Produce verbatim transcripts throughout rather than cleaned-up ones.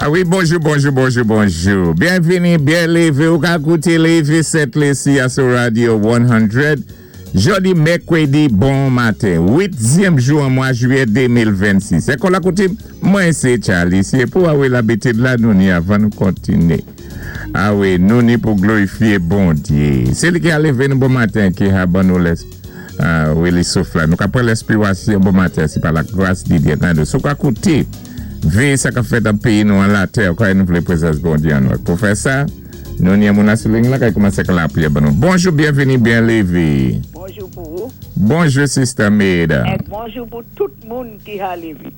A wi, bonjou, bonjou, bonjou, bonjou. Byenvini, byen lévé. Ou ka kouté Lévé Sent Lisi sou Radio san. Jòdi mèkwédi bon maten, uityèm jou an mwa jwiyè de mil vennsis. Sé kon la kouté, mwen sé Charlie. Sé pou a wi labitid la nou ni avan nou kontiné. A wi, nou ni pou glorifyé Bondyé. Sé li ki a lévé nou bon maten ki a ban nou lès. A wi, li souf la. Nou ka pran lèspirasyon bon maten, sé pa la gras di Dye. Nan, sou ka kouté, véyé sa ka fèt an péyi nou an latè, kwa nou vlé prezans Bondyé an nou. Pou fè sa, nou ni moun sou liy la ki koumansé ak lapriyè ban nou. Bonjou, byenvini, byen lévé. Bonjou pou ou. Bonjou, Sister Maida. É bonjou pou tout moun ki a lévé.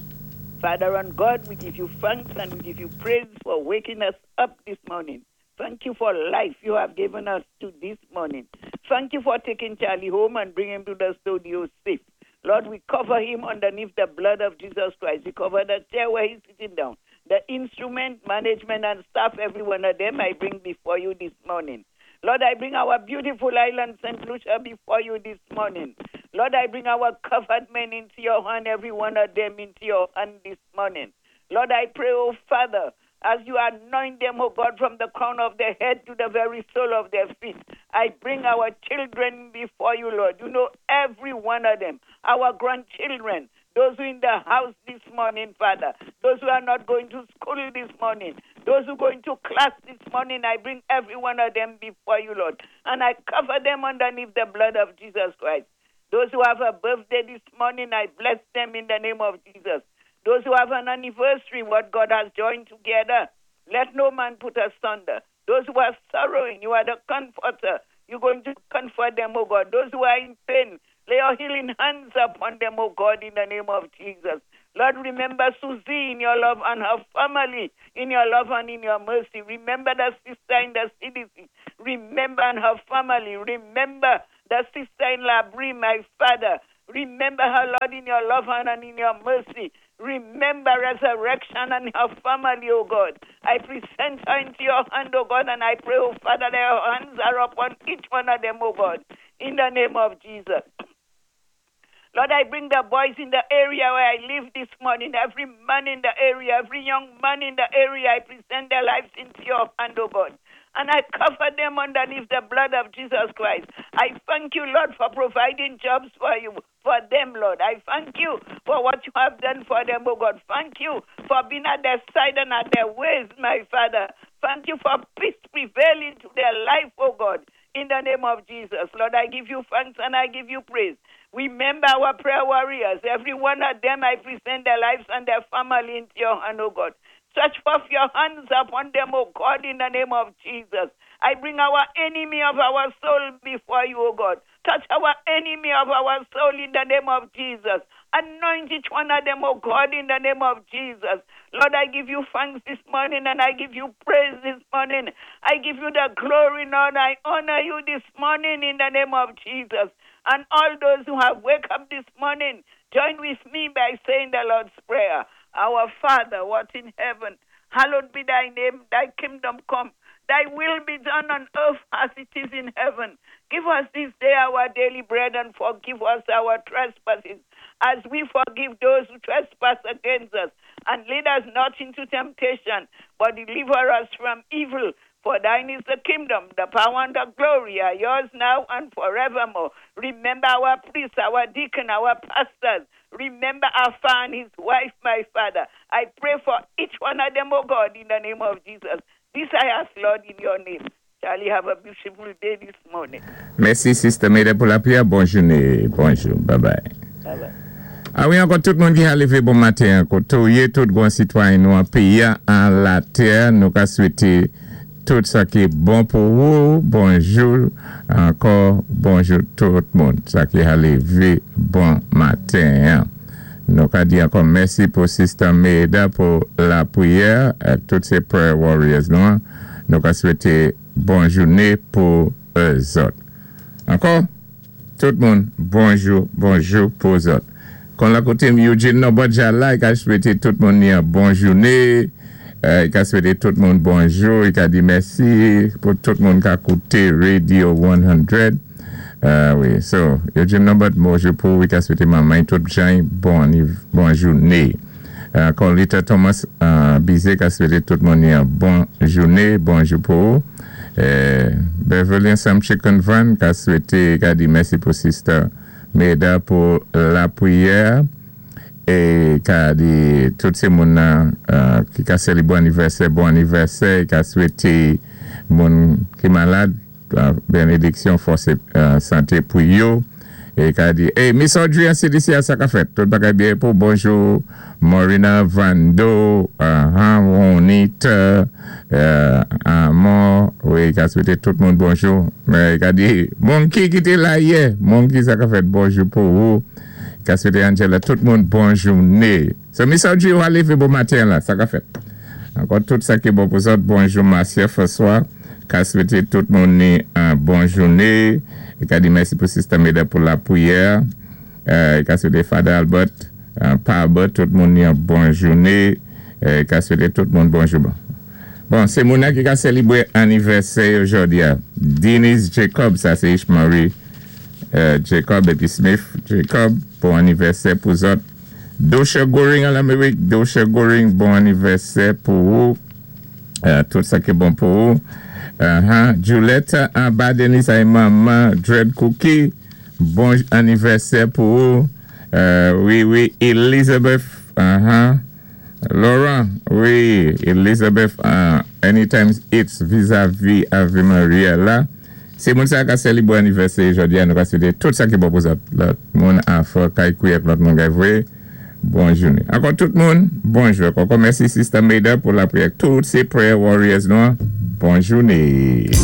Father and God, we give you thanks and we give you praise for waking us up this morning. Thank you for life you have given us to this morning. Thank you for taking Charlie home and bringing him to the studio safe. Lord, we cover him underneath the blood of Jesus Christ. We cover the chair where he's sitting down. The instrument, management, and staff, every one of them, I bring before you this morning. Lord, I bring our beautiful island, Saint Lucia, before you this morning. Lord, I bring our covered men into your hand, every one of them into your hand this morning. Lord, I pray, oh Father, as you anoint them, oh God, from the crown of their head to the very sole of their feet. I bring our children before you, Lord. You know every one of them, our grandchildren, those who in the house this morning, Father, those who are not going to school this morning, those who going to class this morning, I bring every one of them before you, Lord. And I cover them underneath the blood of Jesus Christ. Those who have a birthday this morning, I bless them in the name of Jesus. Those who have an anniversary, what God has joined together, let no man put asunder. Those who are sorrowing, you are the comforter. You're going to comfort them, oh God. Those who are in pain, lay your healing hands upon them, oh God, in the name of Jesus. Lord, remember Susie in your love and her family in your love and in your mercy. Remember the sister in the C D C. Remember and her family. Remember the sister in Labrie, my father. Remember her, Lord, in your love and in your mercy. Remember Resurrection and her family, oh God. I present her into your hand, oh God, and I pray, oh Father, that your hands are upon each one of them, oh God, in the name of Jesus. Lord, I bring the boys in the area where I live this morning, every man in the area, every young man in the area, I present their lives into your hand, oh God. And I cover them underneath the blood of Jesus Christ. I thank you, Lord, for providing jobs for you, for them, Lord. I thank you for what you have done for them, oh God. Thank you for being at their side and at their ways, my Father. Thank you for peace prevailing to their life, oh God. In the name of Jesus. Lord, I give you thanks and I give you praise. Remember our prayer warriors. Every one of them, I present their lives and their family into your hand, oh God. Stretch forth your hands upon them, O God, in the name of Jesus. I bring our enemy of our soul before you, O God. Touch our enemy of our soul in the name of Jesus. Anoint each one of them, O God, in the name of Jesus. Lord, I give you thanks this morning and I give you praise this morning. I give you the glory, Lord. I honor you this morning in the name of Jesus. And all those who have wake up this morning, join with me by saying the Lord's Prayer. Our Father, what in heaven, hallowed be thy name, thy kingdom come, thy will be done on earth as it is in heaven. Give us this day our daily bread and forgive us our trespasses as we forgive those who trespass against us. And lead us not into temptation, but deliver us from evil. For thine is the kingdom, the power, and the glory are yours now and forevermore. Remember our priests, our deacon, our pastors. Remember Alpha and his wife, my father. I pray for each one of them, oh God, in the name of Jesus. This I ask, Lord, in your name. Charlie, have a beautiful day this morning. Mèsi, Sister Maida, pou lapriyè. Bòn jouné. Bonjou. Bye bye. Bye bye. A wi, ankò tout moun ki a lévé bon maten, ankò tout gwan sitwayen nou an péyi an latè, nou ka swété tout sa ki bon pou ou, bonjou, ankò bonjou tout moun, sa ki a lévé bon maten. Nou ka di ankò mèsi pou Sister Maida pou lapriyè, tout sé prayer warriors nou, nou ka swété bon jouné pou zòt. Ankò, tout moun, bonjou, bonjou pou zòt. Kon la koté Eugene Nobodja la, i ka swété tout moun ni an bon jouné, i ka swété tout moun bonjou, i ka di mèsi pou tout moun ka kouté Radio san. Wi, so, Eugene Nobod, bonjou pou, i ka swété manman tout jan, bon, bon jouné. Ankò Lita Thomas uh, Bizé ka swété tout moun yon bon jouné, bonjou pou ou. Eh, Beverly Sam Chicken Van ka swété, ka di mèsi pou Sister Meda pou lapriyè é ka di tout sé moun nan uh, ki ka sélébwé anivèsè, bon anivèsè, ka swété moun ki malad, uh, bénédiksyon, fòs é uh, santé pou yo. É ka di, hey, Miss Audrey an C D C a sa ka fèt. Tout bagay byen pou bonjou Morina Vando, uh, Juanita, uh, Amor, wi, ka swété tout moun bonjou. Mè ka di, Monkey ki té la yè, Monkey sa ka fèt bonjou pou ou. Ka swété Angela, tout moun bonjou né. So Miss Audrey ou lévé bon maten la, sa ka fèt. Ankò tout sa ki bon pou zòt, bonjou Marcia François, ka swété tout moun ni yon bon jouné. É ka di mèsi pou Sister Meda pou lapriyè. Euh, ka swété Father Albert, euh, Pa Albert, tout moun ni yon bon jouné. Euh, ka swété tout moun bonjou. Bon, bon sé moun ki ka sélébwé anivèsè jòdi a. Denise Jacob, sa sé Ishmarie euh, Jacob épi Smith Jacob, bon anivèsè pou zòt. Dosha Goring an Lamérik, Dosha Goring, bon anivèsè pou ou. Euh, tout sa ki bon pou ou. Uh-huh. Julietta anba Denis ay manman Dread Cookie, bon anivèsè pou ou. Euh, wi, wi, Elizabeth, uh-huh. Laurent, wi, Elizabeth, uh, Anytime It's vis-à-vis Ave Maria la. Sé moun sa ka sélébwé anivèsè jòdi a, nou ka swété tout sa ki bon pou zòt. Lòt moun an kay kouyak lòt moun gay vwé. Bon jouné. Ankò tout moun, bonjou. Ankò mèsi Sister Maida pou lapriyè. Tout sé prayer warriors nou. Bon jouné.